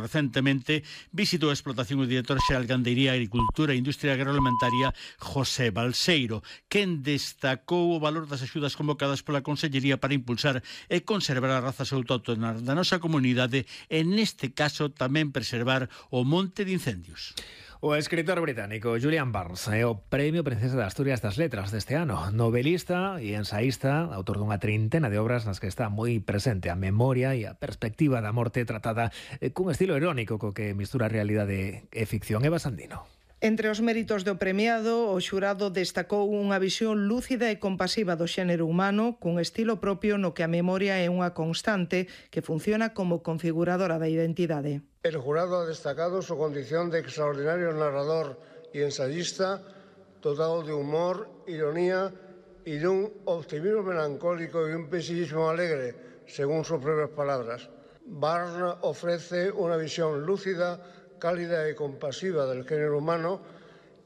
recentemente visitou a explotación o director xeral Gandería, Agricultura e Industria Agroalimentaria José Balseiro, quen destacou o valor das axudas convocadas pola Consellería para impulsar e conservar as razas autóctonas da nosa comunidade e, neste caso, tamén preservar o monte de incendios. O escritor británico Julian Barnes é o Premio Princesa de Asturias das Letras deste ano. Novelista e ensaísta, autor dunha trintena de obras nas que está moi presente a memoria e a perspectiva da morte tratada cun estilo irónico co que mistura realidade e ficción. Eva Sandino. Entre os méritos do premiado, o xurado destacou unha visión lúcida e compasiva do xénero humano, cun estilo propio no que a memoria é unha constante que funciona como configuradora da identidade. El jurado ha destacado su condición de extraordinario narrador y ensayista, dotado de humor, ironía y de un optimismo melancólico y un pesimismo alegre, según sus propias palabras. Barnes ofrece una visión lúcida, cálida y compasiva del género humano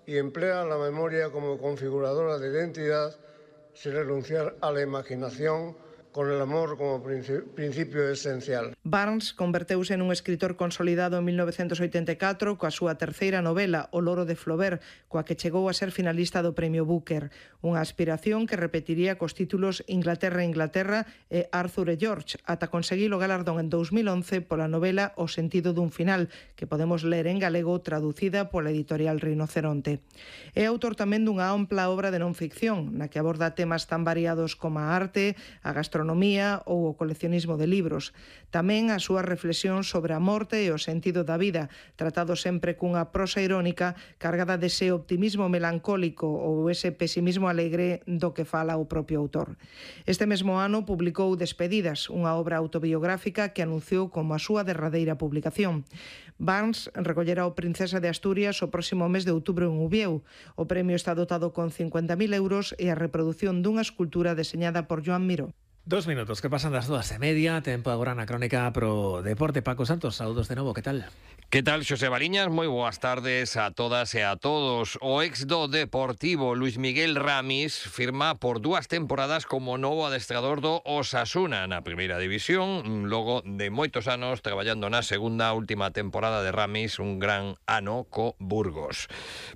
y emplea la memoria como configuradora de identidad sin renunciar a la imaginación, con el amor como principio esencial. Barnes converteuse nun escritor consolidado en 1984 coa súa terceira novela, O loro de Flaubert, coa que chegou a ser finalista do Premio Booker, unha aspiración que repetiría cos títulos Inglaterra e Arthur e George, ata conseguir o galardón en 2011 pola novela O sentido dun final, que podemos ler en galego traducida pola editorial Rinoceronte. É autor tamén dunha ampla obra de non ficción, na que aborda temas tan variados como a arte, a gastronomía ou o coleccionismo de libros. Tamén a súa reflexión sobre a morte e o sentido da vida, tratado sempre cunha prosa irónica cargada dese optimismo melancólico ou ese pesimismo alegre do que fala o propio autor. Este mesmo ano publicou Despedidas, unha obra autobiográfica que anunciou como a súa derradeira publicación. Barnes recollerá o Princesa de Asturias o próximo mes de outubro en Ubieu. O premio está dotado con 50.000 euros e a reproducción dunha escultura deseñada por Joan Miró. 2 minutos que pasan das 2:30, tempo agora na crónica pro deporte. Paco Santos, saúdos de novo, que tal? Que tal, Xosé Baliñas? Moi boas tardes a todas e a todos. O ex do Deportivo, Luis Miguel Ramis, firma por 2 temporadas como novo adestrador do Osasuna na primeira división, logo de moitos anos traballando na segunda última temporada de Ramis, un gran ano co Burgos.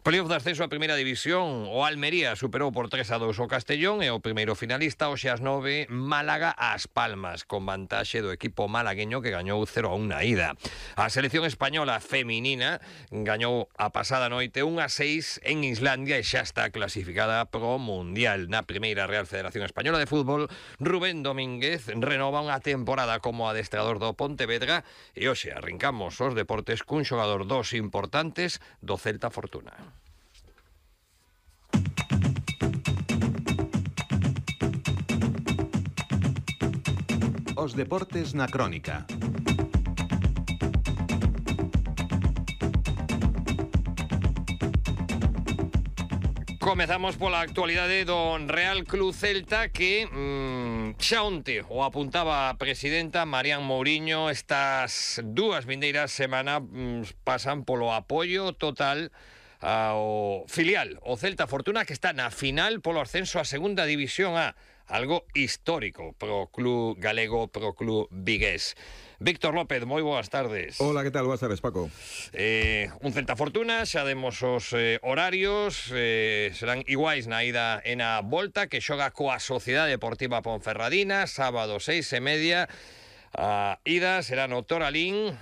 Playoff de ascenso a primeira división, o Almería superou por 3-2 o Castellón e o primeiro finalista, hoxe ás 9, Málaga ás Palmas, con vantaxe do equipo malagueño que gañou 0-1 na ida. A selección española feminina gañou a pasada noite 1-6 en Islandia e xa está clasificada pro Mundial. Na primeira Real Federación Española de Fútbol, Rubén Domínguez renova unha temporada como adestrador do Pontevedra e hoxe arrincamos os deportes cun xogador dos importantes do Celta Fortuna. Os deportes na crónica. Comezamos pola actualidade do Real Club Celta que xa onte o apuntaba a presidenta Marián Mouriño. Estas 2 vindeiras semanas pasan polo apoio total ao filial, o Celta Fortuna, que está na final polo ascenso a segunda división A, algo histórico pro club galego, pro club vigués. Víctor López, moi boas tardes. Hola, que tal? Boas tardes, Paco. Un Celta Fortuna, xa demos os horarios, serán iguais na ida e na volta, que xoga coa Sociedade Deportiva Ponferradina, sábado 6:30. A ida será no Toralín.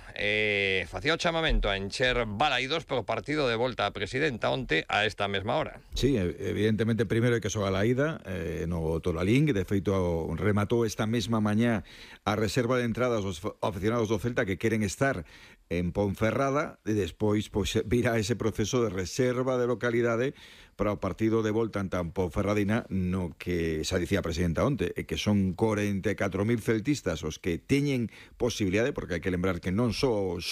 Facía o chamamento a encher balaídos polo partido de volta a presidenta onte a esta mesma hora. Sí, evidentemente primeiro hai que xogar a ida no Toralín, que de feito rematou esta mesma mañá a reserva de entradas aos aficionados do Celta que queren estar en Ponferrada, e despois virá ese proceso de reserva de localidade para o partido de volta en Ponferradina, no que xa dicía a presidenta onte, que son 44.000 celtistas os que teñen posibilidade, porque hai que lembrar que non só os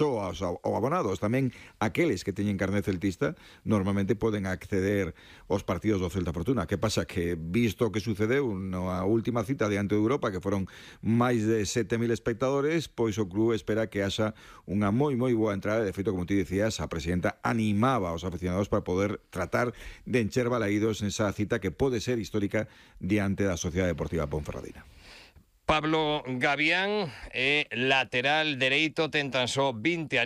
abonados, tamén aqueles que teñen carné celtista normalmente poden acceder aos partidos do Celta Fortuna. Que pasa? Que visto o que sucedeu na última cita diante de Europa, que foron máis de 7.000 espectadores, pois o club espera que haxa unha moi boa entrada. De feito, como ti dicías, a presidenta animaba aos aficionados para poder tratar de encher balaídos nesa cita que pode ser histórica diante da Sociedade Deportiva Ponferradina. Pablo Gavián é lateral dereito, ten tan só 20 anos.